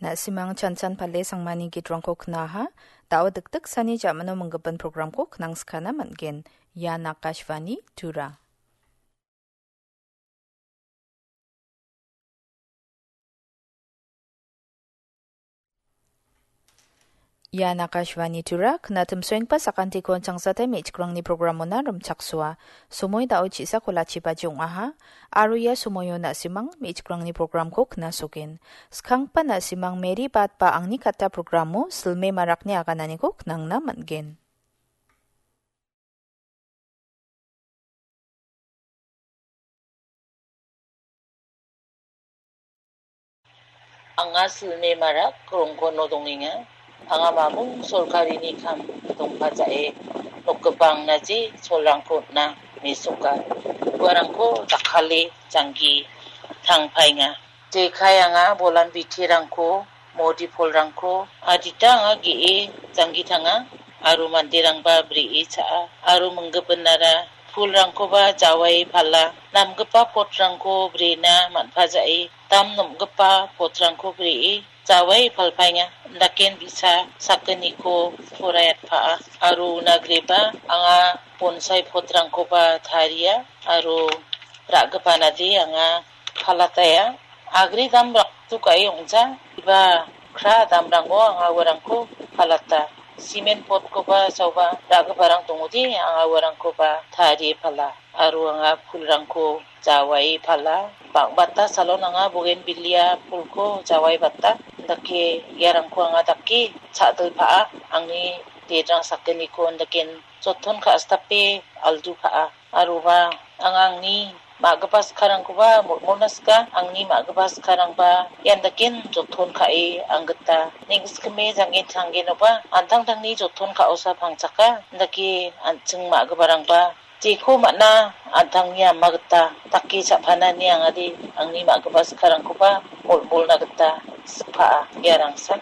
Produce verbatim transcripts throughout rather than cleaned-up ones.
Na·simang chanchan pale sangmani gitrangko knaha, da·o dikdiksani ja·mano minggipa programko knangskana man·gen. Ian Akashvani Tura. Ian Akashvani Tura, knatim soengpa sakantiko changsate me·chikrangni programona rimchaksoa. Somoi da·o chisako lachibaji ong·aha, aro ia somoio na·simang me·chikrangni programko knasogen. Skangpa na·simang Mary Bat ba Angni Katta programo silme marakni agananiko knangna man·gen. Anga silme marak rongkono dongenga. Anga mamung sorkarini kam dongpajae nokgipangnaji cholrangko on·a mesoka. Uarangko dakkale janggi tangpaenga. Jekai anga bolan bitirangko, modi polrangko, adita anga ge·e janggi tanga, aro manderangba bri·e cha·a, aro minggipinara pulrangkoba jawaie pala, namgipa potrangko brena man·pajae, dam nomgipa potrangko bri·e jawaie palpaenga, daken bi·sa sakgniko poraiatpaa, aro una grieba anga bonsai potrangkoba taria, aro ra·gipanade anga palataia. Agri dam raktu ka·e ong·ja, iba kra damrango anga uarangko palata. Simen potkoba saoba ra·giparang dongode, anga uarangkoba tarie pala. Aro anga pulrangko jawaie pala. Bang·bata salon anga bogenbilia pulko jawaie bata. Dake iarangko anga dake cha·dilpaa. Angni dedrang sakgniko daken joton ka·sitape aldu ka·a. Aroba anga angni ma·gipa skarangkoba molmolna sika, angni ma·gipa skarangba ian daken joton ka·e anggita neng·sikime janggen changgenoba an·tangtangni joton ka·osa pangchaka, indake an·ching ma·giparangba jeko man·a an·tangni ama gita dake cha·panani angade angni ma·gipa skarangkoba molmolna gita sikpaa iarangsa.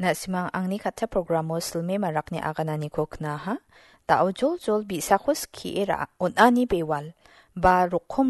Na·simang Angni Katta programo silme marakni agananiko knaha. Da·o joljol bi·sako skie ra-, on·ani bewal ba rokom